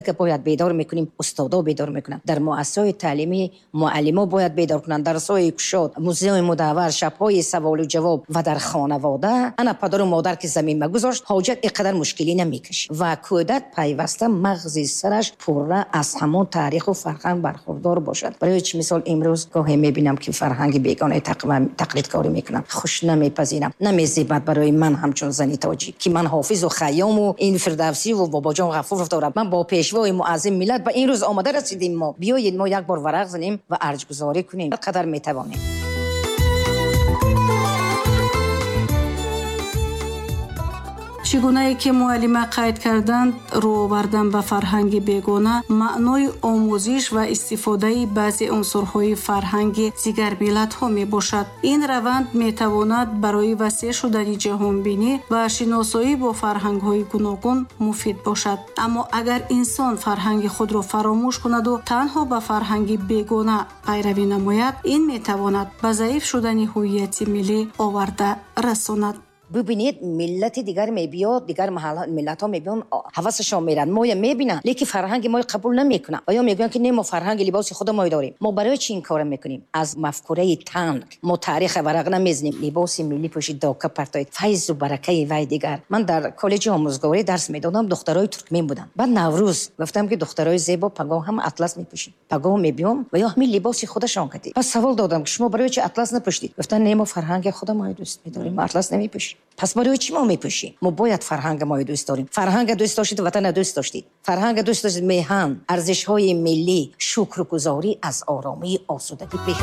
Бояд бедор мекунем, устодо бедор мекунанд. Дар муассисаҳои таълимӣ муаллимо бояд бедор кунанд. Дарсҳои кушод, музеи мудаввар, шабҳои саволу ҷавоб ва дар хонавода ана падару модар ки замин магузошт, ҳоҷат ин қадар мушкилӣ намекашид. Ва кӯдак пайваста мағзи сараш пурра аз ҳамон таъриху фарҳанг бархурдор бошад. Барои чӣ мисол имрӯз гоҳе мебинам ки фарҳанги бегонаи тақлидкорӣ мекунам, хуш намепазирам, намезебад барои ман ҳамчун зани тоҷик ки ман ҳофизу Хайёму ин Фирдавсиву Бобоҷон Ғафуров дорам. Ман бо пешвои муаззим миллат ба ин рӯз омада расидем. Мо биёед мо як бор варақ занем ва арҷгузорӣ кунем, қадар метавонем. Чӣ гунае ки муаллима қайд карданд, рӯ овардан ба фарҳанги бегона маънои омӯзиш ва истифодаи баъзе унсурҳои фарҳанги дигар миллатҳо мебошад. Ин раванд метавонад барои васеъ шудани ҷаҳонбинӣ ва шиносоӣ бо фарҳангҳои гуногун муфид бошад. Аммо агар инсон фарҳанги худро фаромӯш кунаду танҳо ба фарҳанги бегона пайравӣ намояд, ин метавонад ба заиф шудани ҳувияти миллӣ оварда расонад. Бубинед, миллати дигар мебиёд, дигар миллатҳо мебиён, ҳавасашон мерад, моя мебинанд, лекин фарҳанги моя қабул намекунанд. Ва ё мегӯянд ки не, мо фарҳанги либоси худо мо дорем. Мо барои чӣ ин корро мекунем? Аз мафкураи танг мо тариха варақ намезанем. Либоси миллӣ пӯшид, дока партоед, файзу баракаи вай дигар. Ман дар коллеҷи омӯзгорӣ дарс медодам, духтарои туркмен буданд. Баъд Наврӯз гуфтам ки духтарои зебо, пагоҳ ҳам атлас мепӯшем, пагоҳ мебиём ва ё ҳамин либоси худашон кардед. Пас савол додам ки шумо барои чӣ атлас напӯшидед? Гуфтанд не, мо фарҳанги худо мо дӯст медорем, мо атлас намепӯшем. Пас барои чӣ мо мепӯшем? Мо бояд фарҳанги моро дӯст дорем. Фарҳанга дӯст доштед, ватанро дӯст доштед. Фарҳанга дӯст доштед, меҳан, арзишҳои миллӣ, шукргузорӣ аз оромии осудагӣ пеш.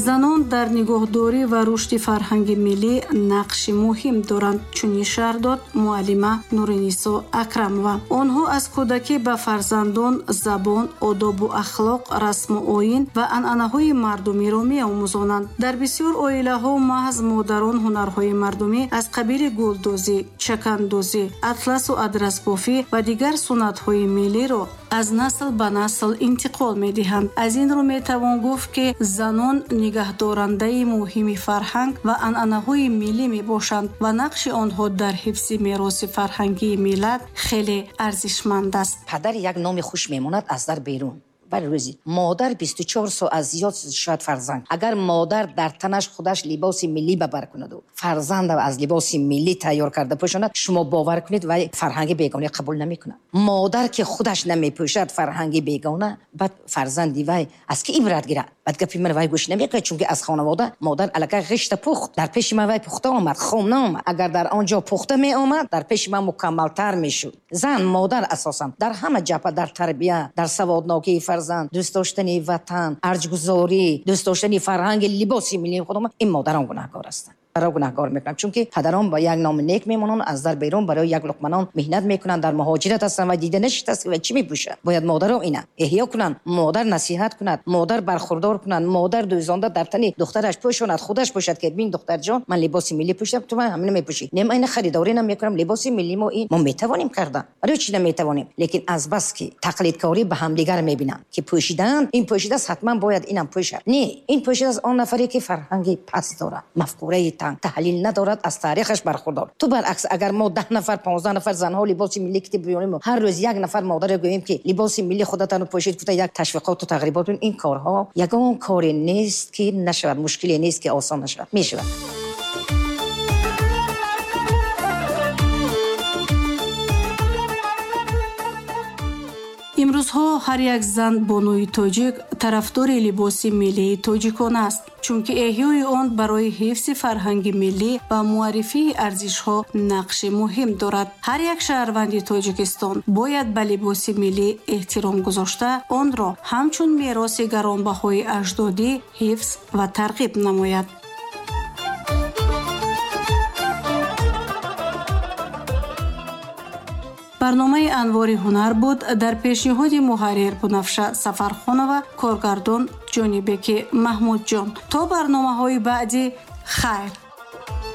Занон дар нигоҳдорӣ ва рушди фарҳанги миллӣ нақши муҳим доранд, чунин шарҳ дод муаллима Нуринисо Акрамова. Онҳо аз кӯдакӣ ба фарзандон забон, одобу ахлоқ, расму оин ва анъанаҳои мардумиро меомӯзонанд. Дар бисёр оилаҳо маҳз модарон ҳунарҳои мардумӣ аз қабили гулдӯзӣ, чакандӯзӣ, атласу адрасбофӣ ва дигар суннатҳои миллиро аз насл ба насл интиқол медиҳанд. Аз ин рӯ метавон гуфт, ки занон нигаҳдорандаи муҳими фарҳанг ва анъанаҳои миллӣ мебошанд ва нақши онҳо дар ҳифзи мероси фарҳангии миллат хеле арзишманд аст. Падар як номи хуш мемонад аз дар берун. Бар рӯзи модар 24 соат зиёд шояд фарзанд. Агар модар дар танаш худаш либоси миллӣ ба бар кунаду фарзанда аз либоси миллӣ тайёр карда пӯшонад, шумо бовар кунед, вай фарҳанги бегона қабул намекунад. Модар ки худаш намепӯшад фарҳанги бегона, баъд фарзанди вай аз ки ибрат гирад? Баъд гапи ман вай гӯш намекунад, чунки аз хонавода модар аллакай ғишта пухт. Дар пеши ман вай пухта омад, хом наомад. Агар дар он ҷо пухта меомад, дар пеши ман мукаммалтар мешуд. Зан, модар асосан дар ҳама ҷабҳа, дар тарбия, дар саводнокии фарзанд, дӯст доштани ватан, арҷгузорӣ, дӯст доштани фарҳанги либоси миллии худамон, ин модарон гунаҳкор ҳастанд. Ро гунаҳкор мекунам, чунки падарон ба як номи нек мемонанд, аз дар берун барои як луқманон меҳнат мекунанд, дар муҳоҷират ҳастанд ва дида нашидааст ва чӣ мепӯшад. Бояд модаро ина эҳё кунанд, модар насиҳат кунад, модар бархурдор кунад, модар дӯзонда дар тани духтараш пӯшонад, худаш пӯшад ки бин духтарҷон, ман либоси миллӣ пӯшидам, ту ман ҳамина мепӯшӣ. Не, ман ина харидорӣ намекунам, либоси миллӣ мо ин мо метавонем кардан. Барои чӣ наметавонем? Лекин аз бас ки тақлидкорӣ ба ҳамдигар мебинанд, ки пӯшидаанд, ин пӯшидааст, ҳатман бояд инам пӯшад. Не, ин пӯшидааст он нафаре ки фарҳанги паст дорад, мафкураи танг, таҳлил надорад, аз таърихаш бархурдор. Ту баръакс, агар мо 10 нафар, 15 нафар занҳо либоси миллӣ ки биёрем, ҳар рӯз як нафар модаре гӯем ки либоси миллӣ худатонро пӯшид, гуфта як ташвиқоту тағрибот, ин корҳо ягон коре нест ки нашавад, мушкиле нест ки осон нашавад, мешавад. Имрӯзҳо ҳар як зан бонуи тоҷик тарафдори либоси миллии тоҷикон аст, чунки эҳёи он барои ҳифзи фарҳанги миллӣ ва муаррифии арзишҳо нақши муҳим дорад. Ҳар як шаҳрванди Тоҷикистон бояд ба либоси миллӣ эҳтиром гузошта, онро ҳамчун мероси гаронбаҳои аҷдодӣ ҳифз ва тарғиб намояд. Барномаи Анвори ҳунар буд дар пешниҳоди муҳаррир Бунафша Сафархонова, коргардон Ҷонибеки Маҳмудҷон. То барномаҳои баъдӣ, хайр.